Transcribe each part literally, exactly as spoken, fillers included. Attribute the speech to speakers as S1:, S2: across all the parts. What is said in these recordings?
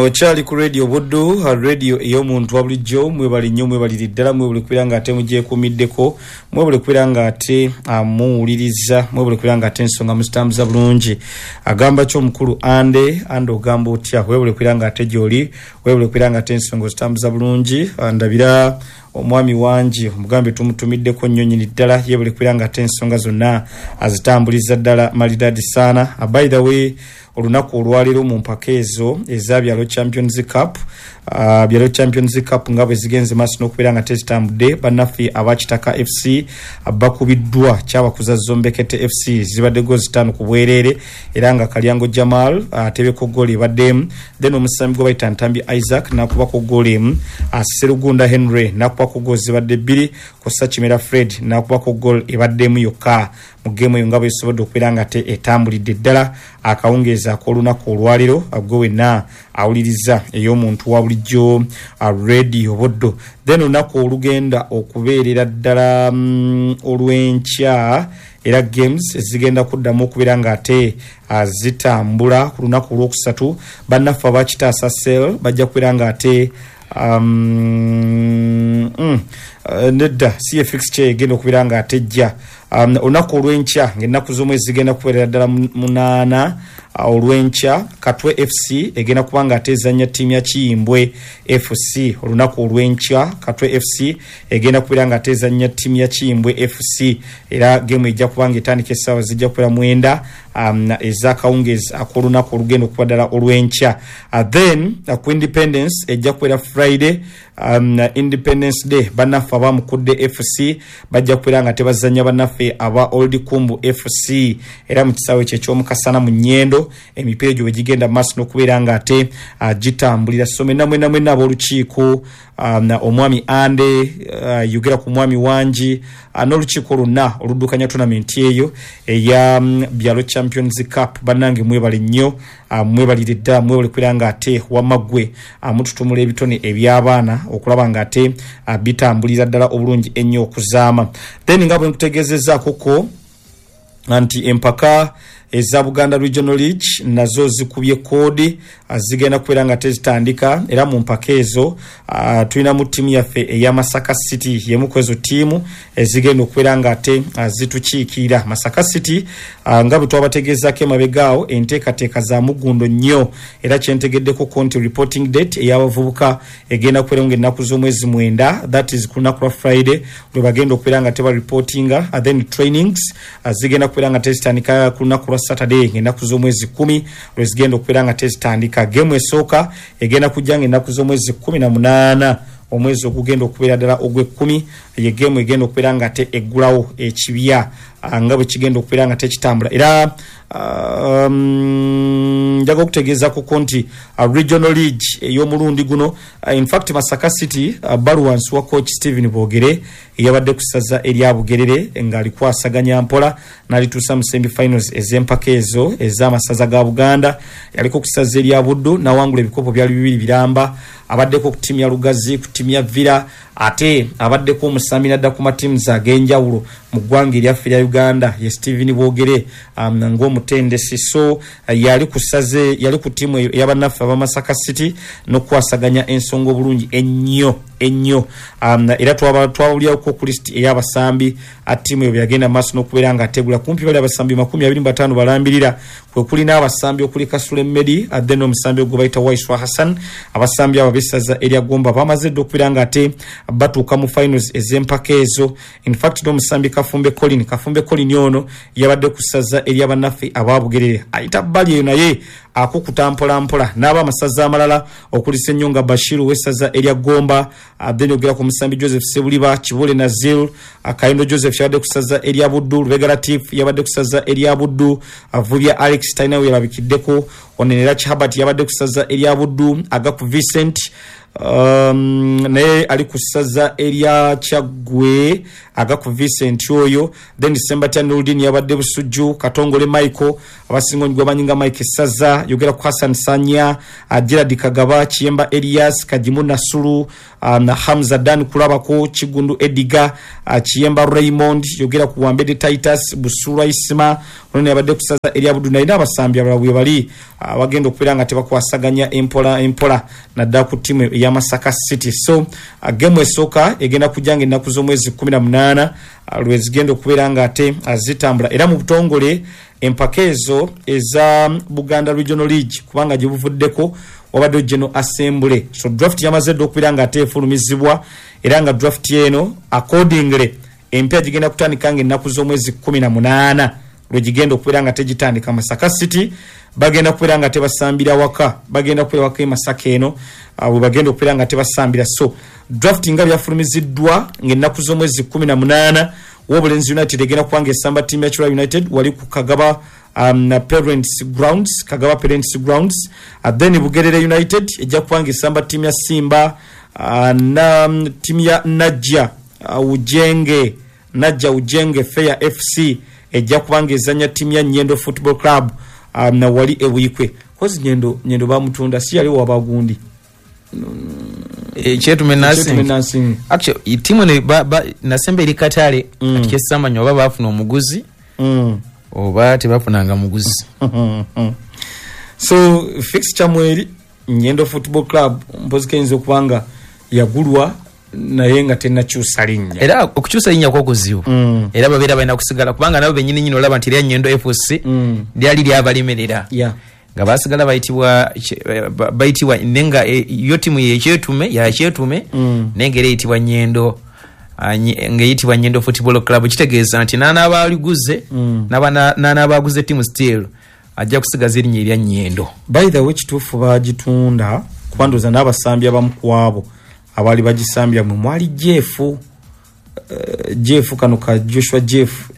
S1: Okyali ku Radio Buddu, radio ey'omuntu wa bulijjo. Mwebali nnyo, mwebaliri ddala, mwebale kubeera nga ate mugyekuumiddeko, mwebale kubeera nga ate muwuliriza, mwebale kubeera nga ate ensonga muzitambuza bulungi. Agamba ki omukulu Ande? Ande ogamba otya? Webale kubeera nga ate gy'oli, webale kubeera nga ate ensonga ozitambuza bulungi. Ndabira omwami wangi omugambe tumutumiddeko nnyo nnyini ddala, yebale kubeera nga ate ensonga zonna azitambuliza ddala malidadi saana. By the way, olunaku olwaleero mu mpaka ezo eza Byalo Champions Cup, uh, Byalo Champions Cup nga bwe zigenze maaso n'okubeera nga tezitambudde, bannaffe aba Kitaka F C bakubiddwa kyabakuza Zombekete F C, zibadde goal zitaano ku bwereere, era nga Kalyango Jamal atebeko goal ebaddemu, then omusambi gwe bayita Ntambi Isaac n'akubako goal emu, Serugunda Henry n'akubako goal zibadde bbiri, Kosa Kimera Fred n'akubako goal ebaddemu yokka mu geemu eyo nga bwesobodde okubeera nga te etambulidde ddala akawungeezi ak'olunaku olwaleero. Gwe wenna awuliriza ey'omuntu wa bulijjo Radio Buddu. Then olunaku olugenda okubeerera ddala mm, olw'enkya, era games zigenda kuddamu okubeera nga ate zitambula ku lunaku olwokusatu. Bannaffe aba Kitaasa Cell bajja kubeera nga ate um, mm, nedda si ye fixture egenda okubeera nga ate ejja um, olunaku olw'enkya ng'ennaku z'omwezi zigenda kubeerera ddala munaana olw'enkya. Katwe F C egenda kuba nga ate ezannya ttiimu ya Kiyimbwe F C olunaku olw'enkya. Katwe F C egenda kubeera nga ate ezannya ttiimu ya Kiyimbwe F C, era geemu ejja kuba nga etandika essaawa zijja kubeera mwenda um, ez'akawungeezi ak'olunaku olugenda okuba ddala olw'enkya. Uh, then uh, ku Independence ejja kubeera Friday, um, Independence Day, bannaffe abamukudde F C bajja kubeera nga tebazannya bannaffe aba Old Kumbu F C, era mu kisaawe kye eky'omukasana mu Nnyendo emipiira egyo bwe gigenda mu maaso n'okubeera nga ate uh, gitambulira. So mwenna mwenna mwenna ab'olukiiko, um, omwami Ande, uh, yogera ku mwami wangi, uh, n'olukiiko lwonna oluddukanya tournament eyo eya um, Byalo Champions Cup, bannange mwebale nnyo, uh, mwebalire ddala, mwebale kubeera nga ate wamaggwe uh, mututumula ebitone eby'abaana okulaba nga ate uh, bitambulira ddala obulungi ennyo okuzaama. Then nga bwe nkutegeezezzaako ko nti empaka eza Buganda Regional League nazo zikubye koodi, zigenda kubeera nga tezitandika, era mu mpaka ezo uh, tulinamu ttiimu yaffe eya Masaka City y'emu ku ezo ttiimu ezigenda okubeera nga ate zitukiikirira. Masaka City uh, nga bwe twabategeezaako emabega awo, enteekateeka za muggundo nnyo, era kyentegeddeko ko nti reporting date ey'abavubuka egenda kubeera ng'ennaku z'omwezi mwenda, that is ku lunaku lwa Friday lwe bagenda okubeera nga teba reportinga. uh, then trainings uh, zigenda kubeera nga tezitandika ku lunaku lwa Saturday ng'ennaku z'omwezi kumi lwe zigenda okubeera nga tezitandika. Geemu esooka egenda kujja ng'ennaku z'omwezi kumi na munaana omwezi ogugenda okubeera ddala ogw'ekkumi, ye geemu egenda okubeera nga ate eggulawo ekibya nga bwe kigenda okubeera nga tekitambula. Era um, njaga okutegeezaako ko nti uh, Regional League ey'omulundi guno, uh, in fact Masaka City uh, bali wansi wa coach Stephen Bogere eyabadde ku ssaza erya Bugerere ng'alikwasaganya mpola n'alituusa mu semi finals ez'empaka ezo ez'amasaza ga Buganda. Yaliko ku ssaza erya Buddu n'awangula ebikopo byali bibiri biramba, abaddeko ku ttiimu ya Lugazi, ku ttiimu ya Villa, ate abaddeko omusambi n'adda ku matiimu ag'enjawulo mu ggwanga eryaffe erya Uganda ye Stephen Bogere um, ng'omutendesi. So uh, yali ku ssaze, yali ku ttiimu eyo ey'abannaffe aba Masaka City n'okukwasaganya ensonga obulungi ennyo ennyo. Um, era twabawulirako ku lisiti ey'abasambi ttiimu eyo bwe yagenda mu maaso n'okubeera nga ategula kumpi bali abasambi makumi abiri mu bataano balambirira, kwe kuli n'abasambi okuli Kasule Medi, then n'omusambi ogwe bayita Waiswa Hassan. Abasambi abo ab'essaza erya Gomba bamaze dda okubeera nga ate batuuka mu finals ez'empaka ezo. In fact n'omusambi Kafumbe Colin, Kafumbe Colin ono yabadde ku ssaza ery'abannaffe aba Bugerere, ayita bbali eyo naye akukuta mpola mpola n'abamasaza amalala okuli Ssenyonga Bashiru w'essaza erya Gomba, then ogera ku musambi Joseph Sebuliba, Kibule Nazil, Kayindo Joseph yabadde ku ssaza erya Buddu, Lubega Latif yabadde ku ssaza erya Buddu, Vubya Alex talina we yalabikiddeko, Onenera Kihabat yabadde ku ssaza erya Buddu, Agaku Vincent um, naye ali ku ssaza erya Kyaggwe, Agaku Vincent oyo, then Sembatya Nurdin yabadde Busujju, Katongole Michael abasinga gwe bamanyi nga Mike Ssaza, yogera ku Hassan Sanya, Gerard Kagaba, Kiyemba Elias, Kagimu Nasulu, um, Hamza Dan Kulabako, Kigundu Ediga, uh, Kiyemba Raymond, yogera ku Wambede Titus, Busulwa Isima, Ono yabadde kusaza erya Buddu, naye n'abasambi abalala bwe bali abagenda okubeera nga tebakwasaganya empola empola naddala ku ttiimu eya Masaka City. So gemu esooka egenda kujja nga ennaku z'omwezi kumi na munaana lwezigenda okubeera nga ate zitambula. Era mu butongole empaka ezo eza Buganda Regional League, kubanga gye buvuddeko wabadde General Assembly. So draft yamaze dda okubeera nga ate efulumizibwa, era nga draft eno accordingly empya gigenda kutandika nga ennaku z'omwezi kumi na munaana lwegigenda okubeera nga tegitandika. Masaka City bagenda kubeera nga tebasambira waka, bagenda kubeera waka e Masaka eno bwe bagenda okubeera nga tebasambira. So draft nga byafulumiziddwa ng'ennaku z'omwezi kumi na munaana, Wobulenzi United egenda kubanga esamba ttiimu ya Kira United wali ku Kagaba um, Parents Grounds, Kagaba Parents Grounds. Uh, then Bugerere United ejja kubanga esamba ttiimu ya Simba uh, na ttiimu ya Najja uh, Ujenge, Najja Ujenge Fair F C ejja kubanga ezannya ttiimu ya Nyendo Football Club um, na wali e Buikwe. Kozi Nyendo, Nyendo bamutunda si yali wabagundi
S2: Kyetume Nursing. Actually timu ne ba, ba, nasembe eri katale mm. Ati kyesamanya oba baafuna omuguzi mm. oba tebafunanga muguzi.
S1: So fixture mweri Nyendo Football Club mpozi kayinza okubanga yagulwa naye nga tennakyusa linnya.
S2: Era okukyusa linnya kwo kuzibu mm. Era babeera balina kusigala kubanga nabo bennyini nnyini olaba nti erya Nyendo F C mm. lyali lyabalemerera
S1: yeah.
S2: nga basigala bayitibwa bayitibwa nenga yo timu ye Kyetume ya Kyetume mm. nenga ereyitibwa Nyendo ngeyitibwa Nyendo Football Club. Kitegeeza nti n'anaabaliguze mm. n'anaabaguze timu still ajja kusigaza erinnya erya Nyendo.
S1: By the way, kituufu bagitunda kuba ndowooza n'abasambi abamu ku abo abaali bagisambira mwe mwali Jeff uh, Jeff kano ka Joshua Jeff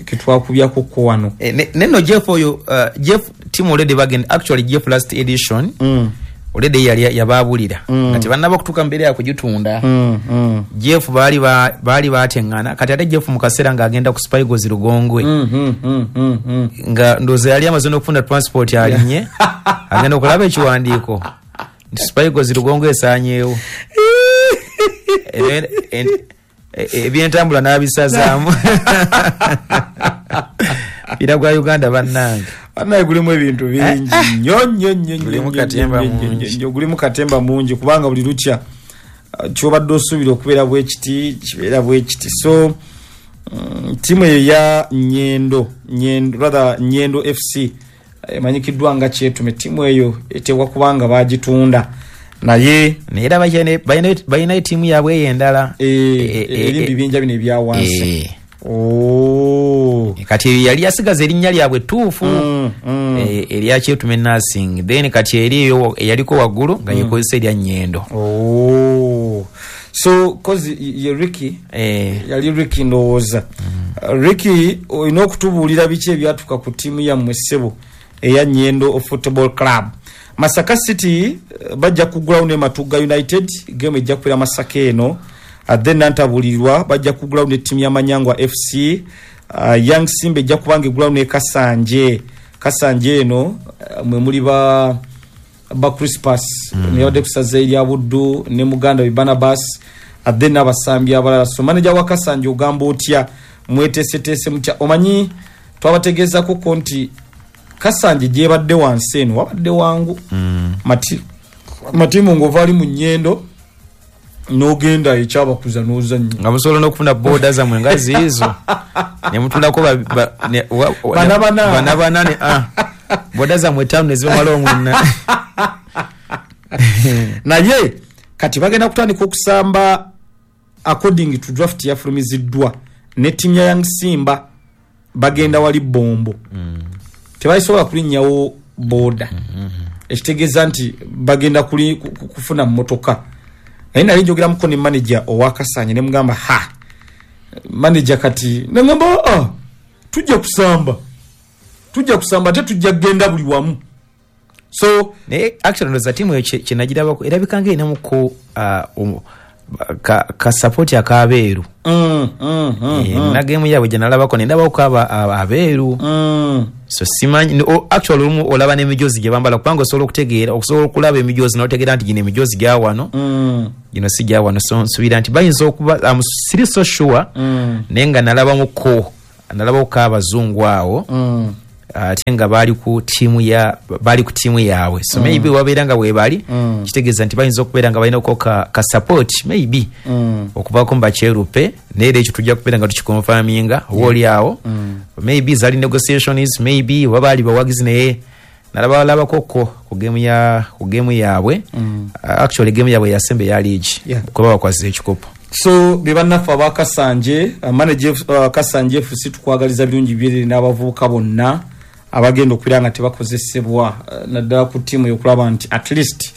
S1: ketwakubyako ko wano
S2: e, neno Jeff oyo uh, Jeff team already bagenda actually Jeff last edition mm. already yali yababulira mm. kati bannaba kutuuka mbere ya kugitunda
S1: mm, mm.
S2: Jeff baali ba, baali batengana kati ate Jeff mu kaseera ng'agenda ku Spygos Lugongwe
S1: mm, mm, mm, mm, mm.
S2: nga ndowooza yali amaze n'okufuna transport alinye yeah. agenda okulaba ekiwandiiko nti Spygos Lugongwe esaanyeewo ebyentambula n'abisazaamu mpira gwa Uganda bannange
S1: bannange gulimu ebintu bingi nnyo nnyo nnyo
S2: gulimu katemba mungi
S1: gulimu katemba mungi kubanga buli lukya kyobadde osuubira okubeera bwekiti kibeera bwekiti. So ttiimu eyo ya Nyendo Nyendo rather Nyendo F C emanyikiddwa nga Kyetume, ttiimu eyo eteekwa kubanga baagitunda naye
S2: naye era balina ettiimu yaabwe eyo endala
S1: eri mu bibinja bino ebya wansi. Oh.
S2: Kati yali yasigaza erinnya lyabwe ttuufu mm, mm. erya Kyetume Nursing, then kati eri eyo eyaliko waggulu nga yekozesa erya Nyendo.
S1: Oh. So kozi ye Ricky
S2: eh.
S1: yali Ricky ndowooza mm. Ricky olina okutubuulira biki ebyatuuka ku ttiimu yammwe ssebo eya Nyendo Football Club. Masaka City bajja kugulawo ne Matugga United, game ejja kubeera Masaka eno. Then Nantabulirwa bajja kugulawo ne ttiimu ya Manyangwa F C. Uh, Young Simba ejja kubanga egulawo ne Kasanje. Kasanje eno uh, mwe muli ba ba Crispus mm. ne kusaza erya Buddu ne Muganda we Barnabas, then n'abasambi abalala. So manager wa Kasanje ogamba otya, mweteeseteese mutya? Omanyi twabategeezaako ko nti Kasanje gyebadde wansi eno wabadde wangu
S2: mm.
S1: mati matimu ng'ova ali mu Nyendo n'ogenda ekyabakuza n'ozannya
S2: nga musobola n'okufuna booda zammwe nga ziizo ne mutulako
S1: bana
S2: bana bana ne ah boda zammwe ttaano ne zibamala omwenna.
S1: Naye kati bagenda kutandika okusamba according to draft yafulumiziddwa ne ttiimu ya Young Simba bagenda wali Bombo
S2: mm.
S1: tebasobola kulinnyawo booda
S2: mm -hmm.
S1: ekitegeeza nti bagenda kuli kufuna mmotoka. Naye nali njogeramuko ne manager owa Kasanje ne mugamba ha manager kati nangamba ah tujja kusamba tujja kusamba ate tujja kugenda buli wamu. So
S2: naye actually ndowooza ttiimu eyo kyenagirabako erabika nga erinamuko uh, ka, ka support akabeeru
S1: mm, mm, mm,
S2: e,
S1: mm.
S2: na game yaabwe gye nalabako ne ndabako aba abeeru
S1: mm.
S2: So simanyi actually olumu olaba n'emijoozi gye bambala kubanga osobola okutegeera okusobola okulaba emijoozi n'otegeera nti gino emijoozi gya wano
S1: mm.
S2: gino si gya wano. So nsuubira nti bayinza okuba um, siri so sure
S1: mm.
S2: naye nga nalabamuko Nalabako abazungu awo
S1: Mm.
S2: ate nga baali ku tiimu ya baali ku tiimu yaabwe, so maybe wabeera nga weebali,
S1: Mm.
S2: kitegeeza nti bayinza okubeera nga balinako ka, ka support maybe
S1: Mm.
S2: okuvaako mu bakyerupe, naye era ekyo tujja kubeera nga tukiconfirminga oba oli awo.
S1: Mm.
S2: Maybe zali negotiations, maybe oba baali bawagizi, naye nalabalabakoko ku game ya ku game yaabwe.
S1: Mm.
S2: Uh, actually game yaabwe yasembe ya league
S1: Yeah.
S2: kuba bakwasiza ekikopo.
S1: So be bannaffe abakasanje, uh, manager uh, Kasanje F C, tukwagaliza birungi byerere n'abavubuka bonna abagenda okubeera nga tebakozesebwa, uh, naddala ku ttiimu yokulaba nti at least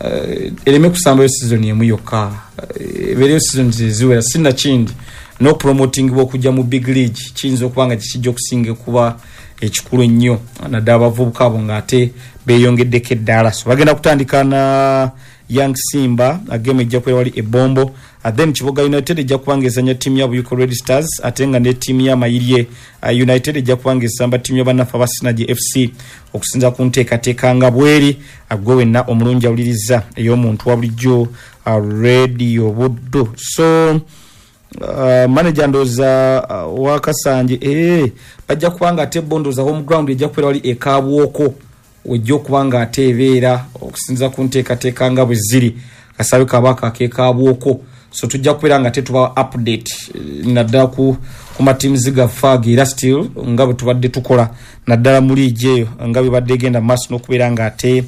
S1: uh, ereme kusambayo season emu yokka, uh, ebeereyo season eziwera, sinakindi n'okupromotingibwa okujja mu big league kiyinza okuba nga kikijja okusinga kuba ekikulu ennyo, naddala abavubuka abo ng'ate beeyongeddeko eddaala. So bagenda kutandika na Young Simba, game ejja kubeera wali Ebombo. uh, then Kiboga United ejja kuba nga ezanya ttiimu ya Buyuko Red Stars, ate nga ne ttiimu ya Mayirye uh, United ejja kuba nga esamba ttiimu ya bannaffe aba Sinaji F C, okusinza ku nteekateeka nga bweri. Gwe wenna omulungi awuliriza ey'omuntu wa bulijjo, uh, Radio Buddu. So uh, manager ndooza uh, wa Kasanje, eh, bajja kuba nga ate bo ndooza home ground ejja kubeera wali ekabwoko, wejja okuba nga ate ebeera okusinza ku nteekateeka nga bwe ziri, kasabe kabaka akekabwoko. So tujja kubeera nga tetuba update, eh, naddala ku, ku matiimuzi gaffe ago, era still nga bwe tubadde tukola naddala mu liigi eyo nga bwe badde egenda maaso n'okubeera nga ate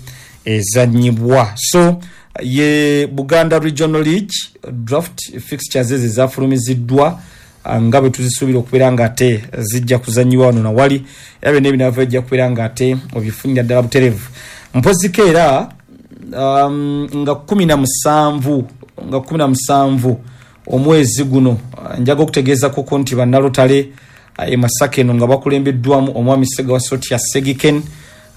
S1: ezanyibwa. So ye Buganda Regional League draft fixtures ezo ezafulumiziddwa, ah, nga bwe tuzisuubira okubeera nga ate zijja kuzanyibwa wano nawali, era byonna ebinaava ejja kubeera nga ate obifunira ddala buterevu. Mpoziko era um, nga kumi na musanvu nga kumi na musanvu omwezi guno, ah, njaga okutegeeza koko nti bannalotale ah, e Masaka eno nga bakulembeddwamu omwami Segawa Sotya Segiken,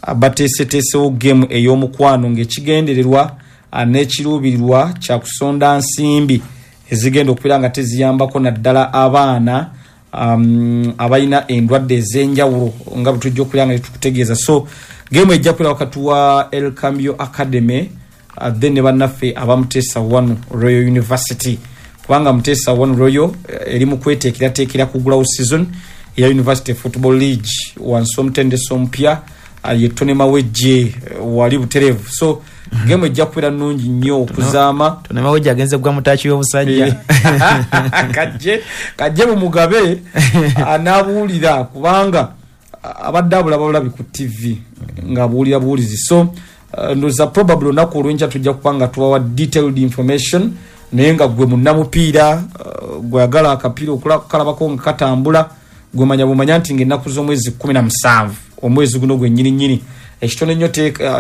S1: ah, bateeseteesewo game ey'omukwano ng'ekigendererwa ah, n'ekiruubirirwa kyakusonda nsimbi ezigenda okubeera nga teziyambako naddala abaana um, abalina endwadde ez'enjawulo, nga bwe tujja okubeera nga tetukutegeeza. So game ejja kubeera wakati wa El Cambio Academy, uh, then ne bannaffe aba Muteesa One Royal University, kubanga Muteesa One Royal eh, eri mu kweteekerateekera kugulawo season eya University Football League wansi omutendesi omupya, uh, ye Tony Mawejje, eh, wali butereevu. So game ejja kubeera nnungi nnyo okuzaama.
S2: Tony Mawejje agenze kugwa mu taaki y'obusajja.
S1: kajje kajje mumugabe anaabuulira, kubanga abadde abulaba bulabi ku T V ng'abuulira buwulizi. So uh, ndowooza probably olunaku olwenkya tujja kuba nga tubawa detailed information, naye nga gwe munnamupiira, uh, gweyagala akapiira okukalabako nga katambula, gwemanya bumanya nti ngaennaku z'omwezi kumi na musanvu omwezi guno gwe nnyini nnyini, ekitono ennyo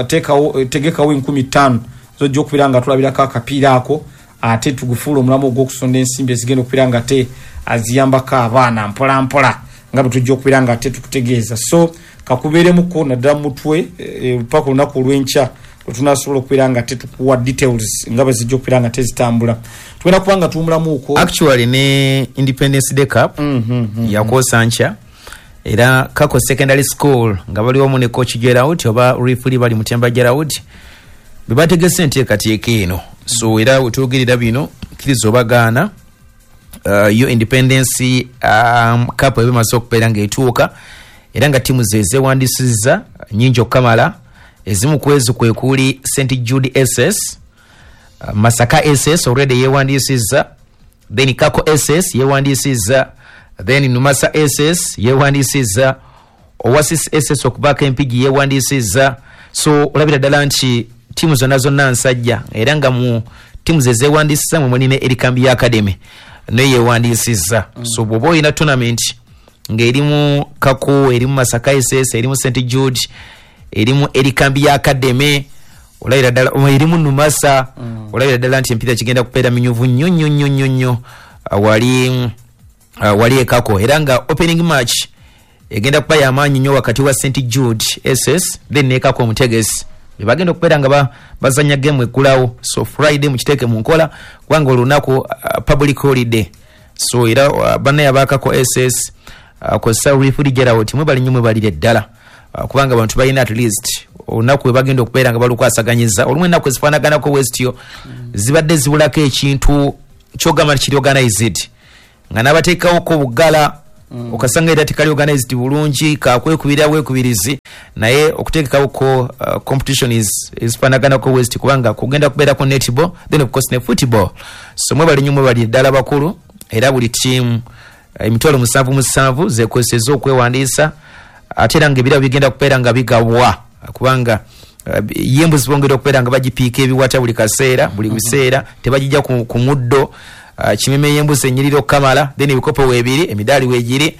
S1: teekawo, tegekawo enkumi ttaano zojja okubeera nga tulabirako akapiira ako, ate tugufuula omulamu ogw'okusonda ensimbi ezigenda okubeera nga ate aziyambako abaana mpola mpola, nga bwe tujja okubeera nga ate tukutegeeza. So kakubeeremuko naddala mutwe e, paka olunaku olw'enkya lwetunasobola okubeera nga tetukuwa details nga bwe zijja okubeera nga tezitambula. Tugenda kuba nga tuwumulamuuko.
S2: Actually ne Independence Day Cup
S1: mm -hmm,
S2: yakwosa nkya, era Kako Secondary School nga bali wamu ne coach Gerald oba referee bali Mutemba Gerald be bategese enteekateeka eno. So era wetwogerera bino, kkiriza obagaana, uh, yo Independence um, Cup eba emaze okubeera ng'etuuka, era nga ttiimu ze zeewandisizza nyingi okukamala. Ezimu ku ezo kwe kuli Saint Jude S S, uh, Masaka S S already yeewandisizza, then Kako S S yeewandisizza, then Numasa S S yeewandisizza, Oasis S S okuvaako Empigi yeewandisizza. So olabira ddala nti ttiimu zonna zonna nsajja, era nga mu ttiimu ze zeewandisizza mwe mulina Erikambi Academy naye yeewandisizza. mm. So bw'oba olina tournament ng'erimu Kako, erimu Masaka S S, erimu Saint Jude, erimu Erikambi Academy, olabira ddala erimu Numasa, mm. olabira ddala nti empiira kigenda kubeera minyuvu nnyo nnyo nnyo nnyo nnyo wali uh, wali ekako. Era nga opening match egenda kuba yamaanyi nnyo wakati wa Saint Jude S S then nekako omutegesi bebagenda okubeera nga bazanya game eggulawo. So Friday mukiteeke mu nkola, kubanga olunaku uh, public holiday. So era uh, bannaye abakako S S, uh, kozesa referee Gerald, mwebali nnyo, mwebalire ddala, uh, kubanga abantu balina at least olunaku we bagenda okubeera nga balukwasaganyiza. Olumu ennaku ezifaanaganako westyo mm. zibadde zibulako ekintu kyogamba nti kiri organized, nga n'abateekawoko bugala. mm. Okasanga era tekali organized bulungi kakwekubira wekubirizi naye okuteekako uh, competition is ezifaanaganako west kubanga kugenda kubeerako netball then of course ne football. So mwebali nnyo mwebali ddala bakulu era buli team emitwalo musanvu musanvu zekweseza okwewandiisa ate era ng'ebirabo bigenda kubeera nga bigabwa kubanga uh, yembuzi bongera okubeera nga bagipiika ebiwata buli kaseera buli biseera tebagijja ku, ku muddo. Uh, kimeme yembuzi enyirira okukamala then ebikopo weebiri emidaali weegiri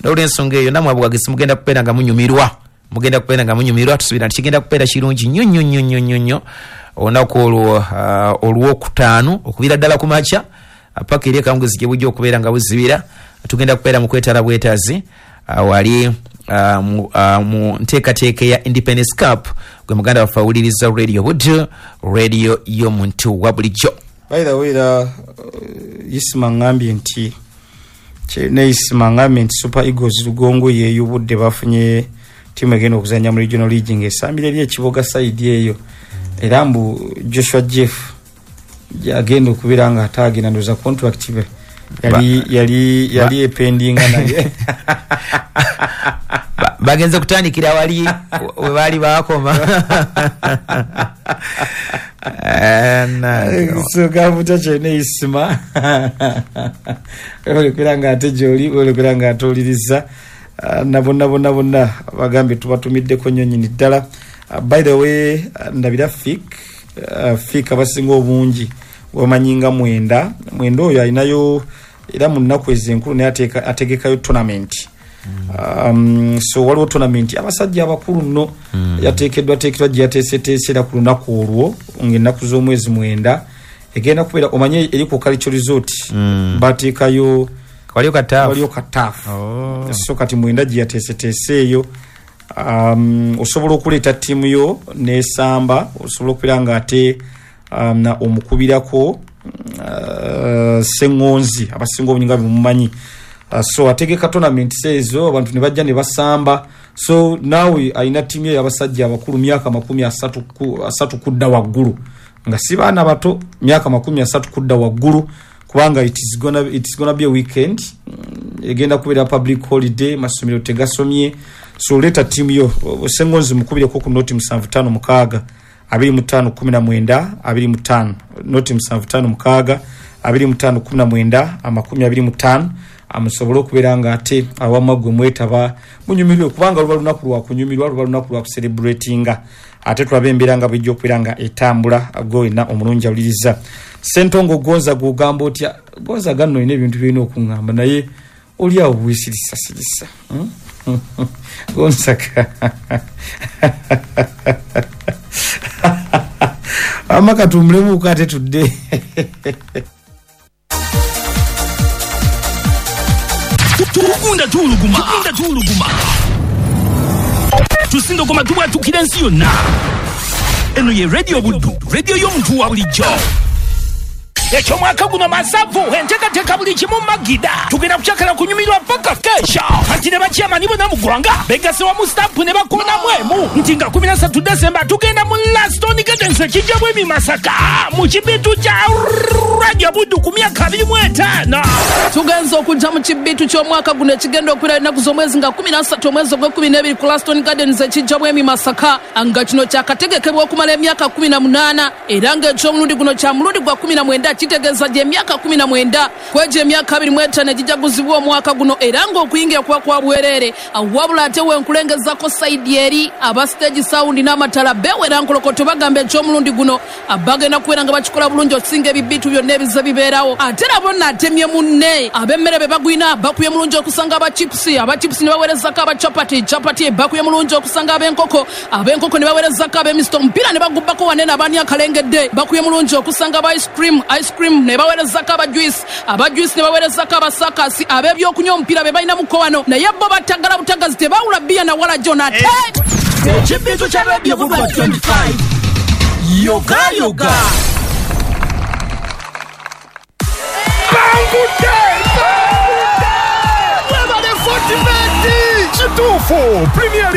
S2: n'olwensonga eyo nammwe abuwagisi mugenda kubeera nga munyumirwa mugenda kubeera nga munyumirwa tusuubira nti kigenda kubeera kirungi nnyo nnyo nnyo nnyo nnyo nnyo olunaku olwo uh, olwokutaano okubira ddala ku makya paka eri akawungeezi gye bujja okubeera nga buzibira tugenda kubeera mu kwetala bwetazi uh, wali uh, mu, uh, mu nteekateeka ya Independence Cup gwe muganda waffe awuliriza Radio Buddu, radio y'omuntu wa bulijjo.
S1: By the way, era uh, Isima ngambye nti ne Isima ngambye nti Super Eagles Lugongo yeeyubudde bafunye ttiimu egenda okuzannya mu regional league ng'esambira eri ekiboga side eyo era mbu Joshua Jeff agenda okubeera nga ate agenda ndowooza contract be yali yali yali ependinga naye
S2: bagenze kutandikira wali we baali bakoma.
S1: So gavuta kyene Isima olekera nga ate gyoli olekera nga ate oliriza na bonna bonna bonna bagambye tubatumiddeko nnyo nnyini ddala. By the way, ndabira Fik uh, Fik abasinga obungi wamanyi nga mwenda mwenda oyo alinayo era mu nnaku ezo enkulu naye ategekayo tournament. Um, so waliwo tournament abasajja abakulu nno mm. yateekeddwa teekeddwa gye yateeseteese ku lunaku olwo ng'ennaku z'omwezi mwenda egenda kubeera omanye eri ku Cultural Resort mm. bateekayo
S2: waliyo kataafu
S1: waliyo kataafu
S2: oh.
S1: So kati mwenda gye yateeseteese eyo um, osobola okuleeta ttiimu yo n'esamba osobola okubeera ng'ate um, na omukubirako uh, Ssengonzi abasinga obungi nga bemumanyi. Uh, so ategeka tournament ezo abantu ne bajja ne basamba. So naawe alina ttiimu ye y'abasajja abakulu myaka makumi asatu ku, asatu kudda waggulu nga si baana bato myaka makumi asatu kudda waggulu kubanga it is gonna, it is gonna be a weekend egenda kubeera public holiday masomero tegasomye. So leeta ttiimu yo Ssengonzi mukubireko ku noti musanvu ttaano mukaaga abiri mu ttaano kumi na mwenda abiri mu ttaano noti musanvu ttaano mukaaga abiri mu ttaano kumi na mwenda amakumi abiri mu ttaano amusobole okubeera nga ate awamu gwe mwetaba munyumirwe kubanga luba lunaku lwa kunyumirwa luba lunaku lwa kucelebratinga ate tulabe embeera nga bwejja okubeera nga etambula gwe wenna omulungi awuliriza. Ssentongo Gonza gw'ogamba otya? Gonza ganno olina ebintu by'olina okuŋŋamba naye oli awo bwesirisasirisa hmm? Gonzaga amaka tumlemuko ate tudde.
S3: Tugunda tuwuluguma tugunda tuwuluguma tusindokoma tubwatukira ensi yonna. Eno ye Radio Buddu, radio y'omuntu wa bulijjo. Ekyomwaka guno masavu enteekateeka buli kimu magida tugenda kukyakala kunyumirwa paka kesha anti ne bakyamani bonna mu ggwanga begasse wamu stampu ne bakoonamu emu nti nga kumi na ssatu Desemba tugenda mu Laston Gardens ekijja bwemi Masaka mu kibitu kya Radio Buddu ku myaka abiri mu etaano.
S4: Tugenza okujja mu kibitu ky'omwaka guno ekigenda okubeera ennaku z'omwezi nga kumi na ssatu omwezi ogw'ekkumi n'ebiri ku Laston Gardens ekijja bwemi Masaka nga kino kyakategekebwa okumala emyaka kumi na munaana era ng'ekyomulundi guno kya mulundi gwa kumi na mwenda kitegeeza gye emyaka kumi na mwenda kwegyo emyaka abiri mu etaano egijaguzibwa omwaka guno era ng'okuyingira kuba kwa bwereere. Wabula ate wenkulengezako sayidi eri aba stage sound n'amatala beewera nkolokoto bagamba ekyomulundi guno bagenda kubeera nga bakikola bulungi okusinga ebibitu byonna ebize bibeerawo. Ate nabo nno atemye munne ab'emmere be bagwina bakubye mulungi okusanga aba chipusi aba chipusi ne baweerezako aba chapati chapati bakubye mulungi okusanga ab'enkoko ab'enkoko ne baweerezako ab'emisito omupiira ne bagubbako wanene abaani akalengedde bakubye mulungi okusanga aba ice cream ice cream ne baweerezako aba juice aba juice ne baweerezako abasakasi ab'ebyokunywa omupiira be balinamuko wano naye bo batagala butagazi tebawula bbiya na wala jona ate
S3: ekibitu kya Radio Buddu twenty-five yoga yoga
S5: Bangudde Bangudde webale forty kituufu Premier League.